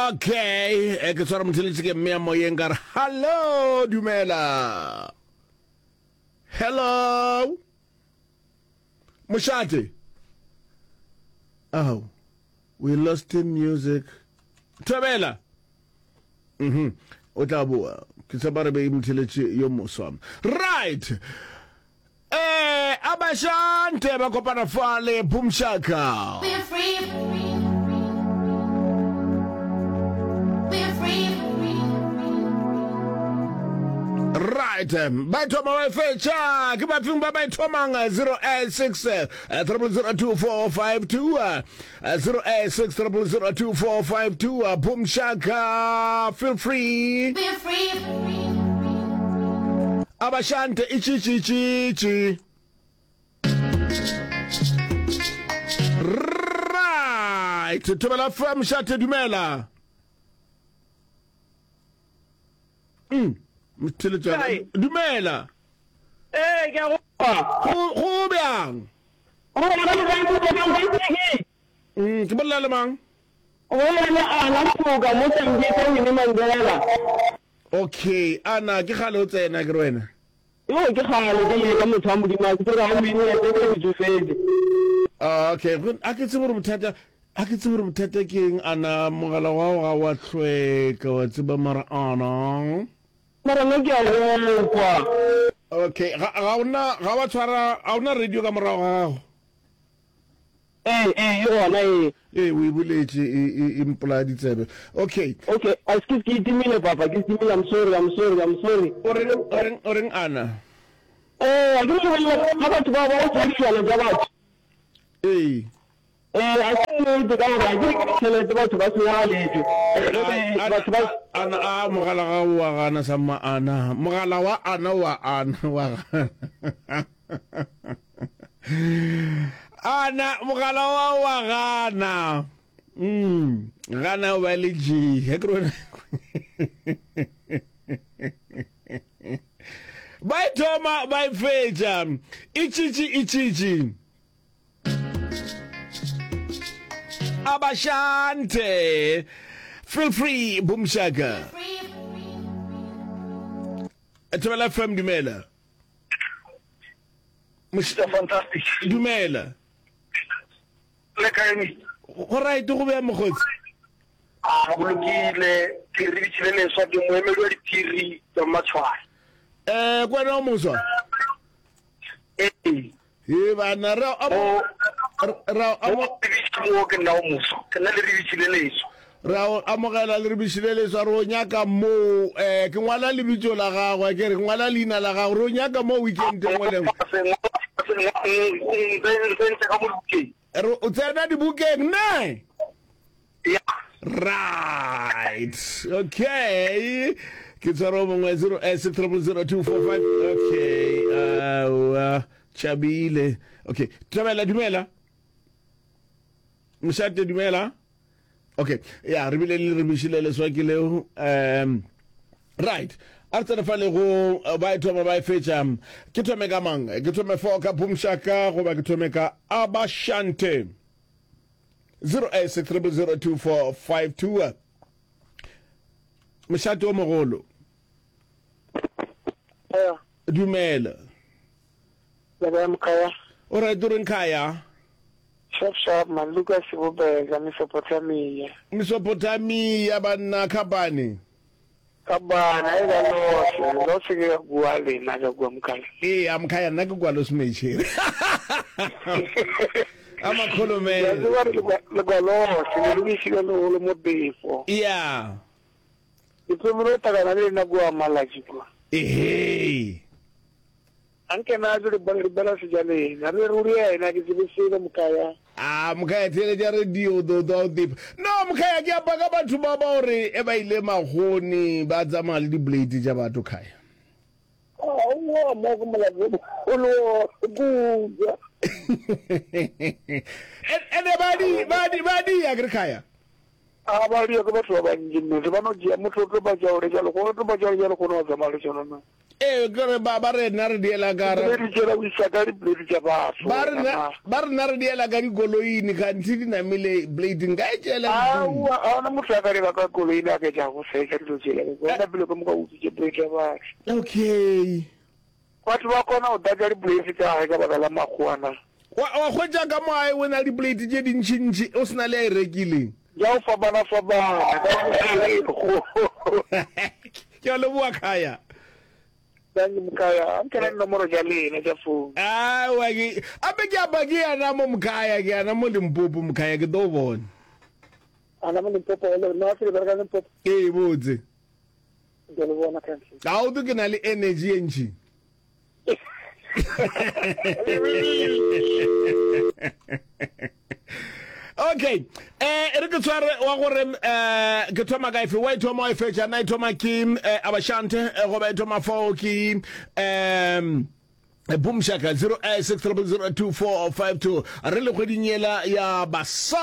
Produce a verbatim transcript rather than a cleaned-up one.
Okay, eh, ke tshwara motheletši ke mmea moyeng ka re hallo, dumela. Hello. Mošate. Oh, we lost in music. Thobela. Mhm. O tla boa. Ke tshepa re be motheletši yo moswa. Right. Eh, abashante ba kopana fale Boom Shaka. We're free. We're free. Right, ba thoma ba e fetša ke bafeng ba ba e thomang zero eight six triple zero two four five two zero eight six triple zero two four five two Boom Shaka feel free. We're free. Abashante itšitšitšitši. Right, Thobela F M Shate dumela. Mm, motheletšana. Kae? Dumela. Ee, ke a go kwa. Go go bjang? Go bolela le mang? Mm, ke bolela le mang? Go bolela le Ana Mpoka mo Sambisa Winnie Mandela. Okay, Ana, ke kgale o tsena ke re wena. Yo, ke kgale ke leka motho wa Modimo, a ke tsebe ga o ine ya teng ke tsofetse. Ah, okay, go a ke tsebe gore bothata, a ke tsebe gore bothata ke eng, Ana, mogala wa gago ga wa hlweka, wa tseba mara Ana. Mara nna ke a go kwa. Okay, ga ga ona ga wa tshwara, ga ona radio ka morago ga gago? Ee, ee, e gona, ee. Ee, o e boletše, e, e, e mpolaya ditsebe. Okay. Okay, excuse, ke itimile, papa, ke itimile, I'm sorry, I'm sorry, I'm sorry. O reng, o reng, o reng, Ana? Ee, a ke re bolela ka batho bao ba go tšea dijwana tša batho. Ee. Ee, a se nnete ka gore a ke re ke ditšhelete batho ba senyagaletšwe. Jwale batho ba. Ana, a mogala ga o wa gana samma Ana, mogala wa Ana wa Ana wa gana. Ana mogala wa wa gana. Mm, gana o ba le G. Ge ke re wena. Ba e thoma ba e fetša. Itšitši itšitši. Abashante. Feel free Boom Shaka. Thobela F M dumela. Mister Fantastic. Dumela. Le kae Mister? Go right go bea mokgotsi. A go lokile, ke re bitšile leswa ke moemedi wa diphiri tsa Matshwane. Eh, kwena o moswa? Ee. He bana ra amo ra amo mo ke nna o moswa. Ke nna le re bitšile leswa. Ra o amogela le re bitšile leswa re o nyaka mo eh ke ngwala lebitso la gagwe ke re ngwala leina la gagwe re o nyaka mo weekend e nngwe le nngwe. Re o tsena dibukeng ne? Ya. Right. Okay. Ke tshwara o mongwe zero eight six triple zero two four five. Okay. Uh, tšhabile. Okay. Thabela dumela. Mošate dumela. Okay. Ya re bile le re bišile leswa ke leo. Um right. A re tsene fa le go ba e thoma ba e fetša. Ke thome ka mang? Ke thome fo ka Boomshaka goba ke thome ka Abashante? zero eight six triple zero two four five two. Mošate o mogolo. Dumela. Leboya Mkhaya. O right o reng Khaya? Sharp sharp man, Lucas Bobeza, Mesopotamia. Mesopotamia banna Khabane. Kabana e ba lose, lose ke bua lena ka kua Mkhaya. Ee, a Mkhaya nna ke kwa Losmecheri. A makgolomela. Ke a tseba re le kwa lose, le lokišile legolo mo befo. Yeah. Ke thomile go hlakana le lena kua Malatši kua. Ehee. A nke na ke le bela sejaleng, a re ruri yena ke tsebe selo Mkhaya. A Mkhaya theeletša radio o tlo twa o tepa. No Mkhaya ke apa ka batho ba ba gore e ba ile magoni ba tsamaya le di blade tša batho Khaya. Aowa mo ke molato o mogolo kudu. Ene ba di ba di ba di ya ke re Khaya. A ba di ya ke batho ba bantši nnete ba no tšea motho o tlo ba tša gore jalo go tlo ba tša gore jalo kgone wa tsamaya le tšona na. Ee, ke re ba ba re nna re diela ka ra. Diplate tšela o isa ka diplate tša batho. Ba re nna ba re nna re diela ka dikoloing kganthe di namile plate nka e tšeela ntlong. Aowa, ga gona motho a ka dira ka koloing a ka tša go fetša dilo tšela. Ke bona pele ka moka o utswitše plate ya batho. Okay. Batho ba kgona go tlatša diplate tša gae ka baka la makgowa na? Wa wa hwetša ka mo gae o na le diplate tše dintšintši o se na le a e rekileng. Tša go fapana-fapana ka bošego. Ke a leboga Khaya. Thank you Mkhaya. A nke na dinomoro tša lena tša phone. Aowa ke ape ke apa ke yana mo Mkhaya ke yana mo Limpopo Mkhaya ke tlo bona. Ana mo Limpopo le nna se le bereka Limpopo. Ee botse. Ke le bona thank you. Ga o ke na le energy ye ntši. Okay eh re ke tshware wa gore eh ke thoma ka efe wa e thoma wa e fetša na e thoma ke eh, abashante eh, goba e thoma fao ke um Boom Shaka zero eight six triple zero two four five two re le kgweding yela ya basadi.